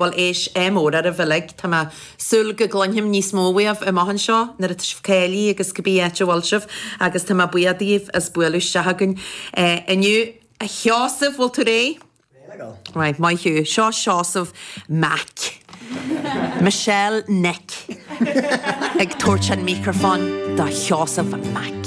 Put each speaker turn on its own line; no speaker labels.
Bhuel éist, ádh mór oraibh uilig. Tá mé ag súil go gcluinfim níos mó uaibh amach anseo nuair atá sibh cáilithe agus cibé áit a bhfuil sibh agus tá mé buíoch daoibh as bualadh isteach chugainn inniu. A Sheosaimh, bhfuil tú réidh?
Réidh le gabháil.
Right, maith thú. Seo Seosamh Mac. Michelle Nic ag tabhairt an micreafón do Sheosamh Mac.